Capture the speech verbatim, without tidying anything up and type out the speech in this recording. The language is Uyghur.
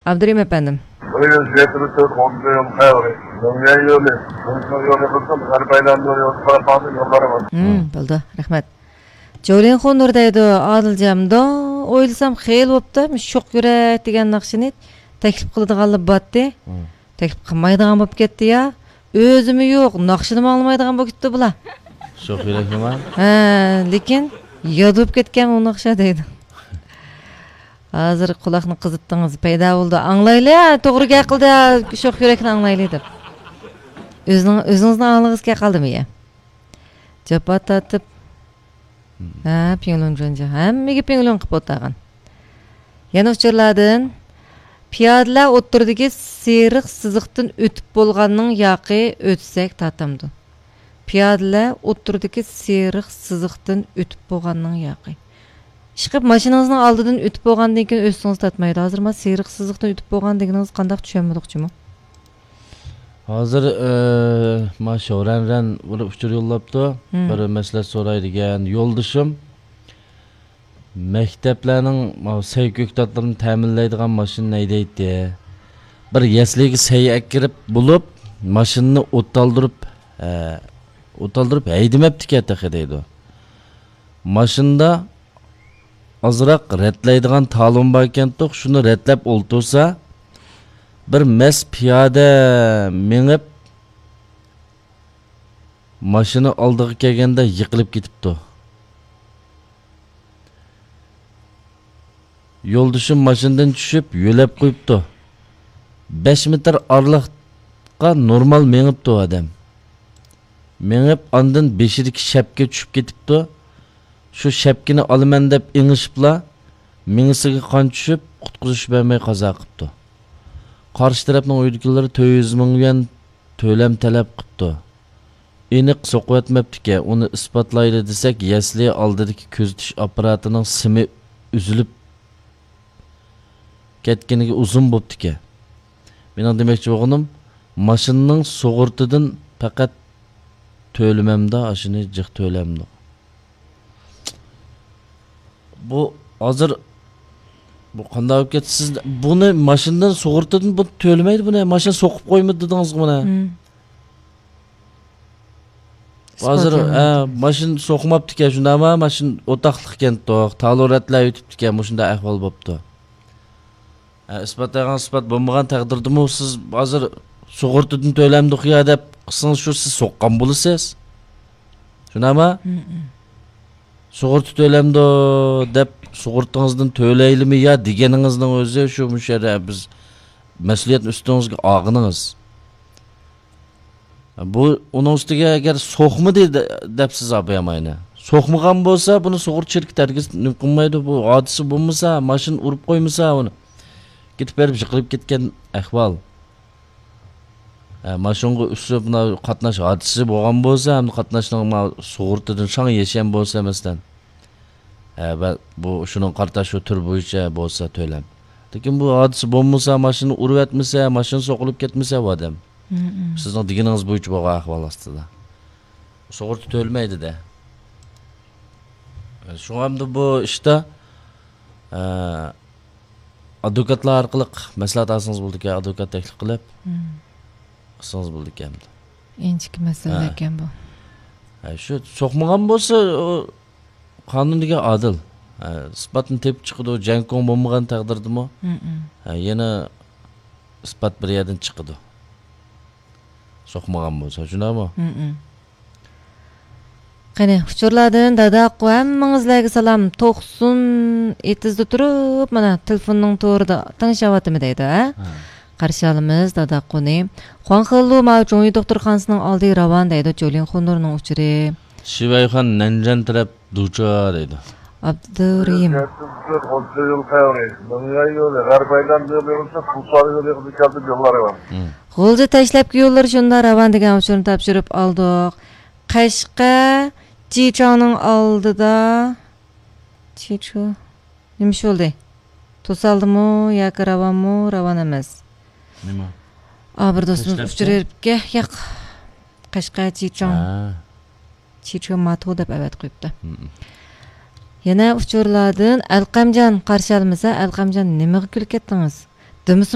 ئابدۇرېھىم ئەپەندىم. بۇ يىل يەتتە تۆت ئون يول خەۋىرى. دۇنيا يولى، دۇنيا يولى قىلسام، غەرب ئايلاندۇرۇڭ يول تۇرپاننى يوللارغا. ھىم، بولدى. رەھمەت. جولىنخۇ نۇر دەيدۇ، ئادىلجان، مۇنداق ئويلىسام خېلى بوپتۇ، شوخ يۈرەك دېگەن ناخشىنى تەكلىپ قىلىدىغانلا باتتى. ھىم. تەكلىپ قىلمايدىغان بولۇپ كەتتى يا. ئۆزىمۇ يوق، ناخشىنىمۇ ئاڭلىمايدىغان بولۇپ كەتتى بۇلار. شوخ يۈرەكنىما؟ ھە، لېكىن ياد بولۇپ كەتكەن ئۇ ناخشا دەيدۇ. ھازىر قۇلاقنى قىزىتتىڭىز، پەيدا بولدى. ئاڭلايلى، توغرا گەپ قىلدى، شوخ يۈرەكنى ئاڭلايلى دەپ. ئۆزىنىڭ، ئۆزىڭىزنىڭ ئاڭلىغىڭىز كەپ قالدىمۇ يا؟ جاپا تارتىپ. ھە، پىڭلۇن جۇنجۇ. ھەممىگە پىڭلۇن قىلىپ ئولتۇرغان. يەنە ئۇچۇرلاردىن. پىيادىلەر ئوتتۇرىدىكى سېرىق سىزىقتىن ئۆتۈپ بولغاننىڭ ياقى ئۆتسەك تارتامدۇ؟ پىيادىلەر ئوتتۇرىدىكى سېرىق سىزىقتىن ئۆتۈپ بولغاننىڭ ياقى. ئىشقىلىپ، ماشىنىڭىزنىڭ ئالدىدىن ئۆتۈپ بولغاندىن كېيىن ئۆتسىڭىز تارتمايدۇ. ھازىر ما سېرىق سىزىقتىن ئۆتۈپ بولغان دېگىنىڭىز قانداق، چۈشەنمىدۇقچىمۇ؟ ھازىر، ئى، ما شورەنرەن بىر ئۇچۇر يوللاپتۇ. ھىم. بىر مەسلىھەت سوراي دېگەن يولدىشىم. مەكتەپلەرنىڭ ما سەي كۆكتاتلىرىنى تەمىنلەيدىغان ماشىنا ھەيدەيتتى. بىر يەسلىگە سەي ئەكىرىپ بولۇپ، ماشىنىنى ئوتالدۇرۇپ، ئە، ئوتالدۇرۇپ ھەيدىمەپتىكەن تېخى دەيدۇ. ماشىنىدا ئازراق رەتلەيدىغان تالون باركەنتۇق، شۇنى رەتلەپ ئولتۇرسا، بىر مەست پىيادە مېڭىپ، ماشىنا ئالدىغا كەلگەندە يىقىلىپ كېتىپتۇ. يولدىشىم ماشىنىدىن چۈشۈپ، يۆلەپ قويۇپتۇ. بەش مېتىر ئارىلىققا نورمال مېڭىپتۇ ئادەم. مېڭىپ، ئاندىن بېشىدىكى شەپكە چۈشۈپ كېتىپتۇ. شۇ شەپكىنى ئالىمەن دەپ ئېڭىشىپلا، مېڭىسىگە قان چۈشۈپ، قۇتقۇزۇش بەرمەي قازا قىپتۇ. قارشى تەرەپنىڭ ئۆيىدىكىلىرى تۆت يۈز مىڭ يۈەن تۆلەم تەلەپ قىپتۇ. ئېنىق سوقۇۋەتمەپتىكەن، ئۇنى ئىسپاتلايلى دېسەك، يەسلى ئالدىدىكى كۆزىتىش ئاپپاراتىنىڭ سىمى ئۈزۈلۈپ كەتكىنىگە ئۇزۇن بوپتىكەن. مېنىڭ دېمەكچى بولغىنىم، ماشىنىنىڭ سۇغۇرتىدىن پەقەت تۆلىمەمدۇ، ئاشۇنى جىق تۆلەمدۇ؟ بۇ ھازىر، بۇ قانداق بولۇپ كەتتى؟ سىز بۇنى ماشىنىدىن، سۇغۇرتىدىن بۇ تۆلىمەيدۇ بۇنى. ماشىنا سوقۇپ قويمىدى دېدىڭىزغۇ مانا. ھىم. ھازىر، ئىسپاتلىمايدۇ. ھە، ماشىنا سوقماپتىكەن، شۇنداقما؟ ماشىنا ئوتاقلىق ئىكەن، توق. تالون رەتلەپ ئۆتۈپتىكەن، مۇشۇنداق ئەھۋال بوپتۇ. ھە، ئىسپاتلىغان ئىسپات بولمىغان تەقدىردىمۇ سىز ھازىر سۇغۇرتىدىن تۆلەمدۇق يا دەپ قىلسىڭىز، شۇ سىز سوققان بولىسىز. شۇنداقما؟ ھىم، ھىم. سۇغۇرتا تۆلەمدۇ دەپ سۇغۇرتىڭىزدىن تۆلەيلىمۇ يا دېگىنىڭىزنىڭ ئۆزى شۇ، مۇشۇ يەردە بىز مەسئۇلىيەتنى ئۈستىڭىزگە ئالغىنىڭىز. بۇ، ئۇنىڭ ئۈستىگە ئەگەر سوقمىدى دە-، دەپ سىز ئاباياماينى. سوقمىغان بولسا، بۇنى سۇغۇرتا شىركىتى ھەرگىز نېمە قىلمايدۇ. بۇ ھادىسە بولمىسا، ماشىنا ئۇرۇپ قويمىسا ئۇنى، كېتىپ بېرىپ يىقىلىپ كەتكەن ئەھۋال. ھە، ماشىنىغا ئۈسۈپ، مانا قاتناش ھادىسىسى بولغان بولسا، ھەم قاتناشنىڭ ما سۇغۇرتىدىن شاڭ يېشەن بولسا، مەسىلەن. ھە، ۋە بۇ شۇنىڭغا قارىتا شۇ تۈر بويىچە بولسا تۆلەم. لېكىن بۇ ھادىسە بولمىسا، ماشىنا ئۇرۇۋەتمىسە، ماشىنا سوقۇلۇپ كەتمىسە، بۇ ئادەم. مم. سىزنىڭ دېگىنىڭىز بويىچە بولغان ئەھۋال ئاستىدا. سۇغۇرتا تۆلىمەيدۇ-دە. شۇڭا ئەمدى بۇ ئىشتا، ئە، ئادۋوكاتلار ئارقىلىق مەسلىھەت ئالسىڭىز بولىدىكەن، ئادۋوكات تەكلىپ قىلىپ مم. قىلسىڭىز بولىدىكەن. ئىنچىكە مەسىلە ھە. ئىكەن بۇ. ھە، شۇ سوقمىغان بولسا، ئۇ قانۇن دېگەن ئادىل. ھە، ئىسپاتنى تېپىپ چىقىدۇ، جەڭكوڭ بولمىغان تەقدىردىمۇ. مم. ھە، يەنە ئىسپات بىر يەردىن چىقىدۇ. سوقمىغان بولسا، شۇنداقمۇ؟ مم. قېنى، ئۇچۇرلاردىن داداقۇ، ھەممىڭىزلەرگە سالام. توقسۇن ئېتىزدا تۇرۇپ، مانا، تېلېفوننىڭ تورىدا تىڭشاۋاتىمەن دەيدۇ، ھە؟ ھە. قارشى ئالىمىز داداقۇنى. خۇاڭخېلۇ ماۋۇ جۇڭيى دوختۇرخانىسىنىڭ ئالدى راۋان دەيدۇ، جولىن خۇنۇرنىڭ ئۇچۇرى. شىۋەيخان نەنجەن تەرەپ دۇچا دەيدۇ. ئابدۇرېھىم. غۇلجا تاشلەپكە يوللىرى شۇنداق راۋان دېگەن ئۇچۇرنى تاپشۇرۇپ ئالدۇق. قەشقەر، جىچاڭنىڭ ئالدىدا. جىچۇ. نېمە ئىش بولدى؟ توسالدىمۇ ياكى راۋانمۇ؟ راۋان ئەمەس. نېمە؟ ئا، بىر دوستىمىز تاشلەپكە؟ ئۇچۇر بېرىپكەن. ياق. قەشقەر، جىچاڭ. ھە. چىچۇ ماتۇ دەپ ئەۋەتىپ قويۇپتۇ. مم. يەنە ئۇچۇرلاردىن ئەلقەمجان قارشى ئالىمىز. ھە، ئەلقەمجان، نېمىغا كۈلۈپ كەتتىڭىز؟ دېمىسا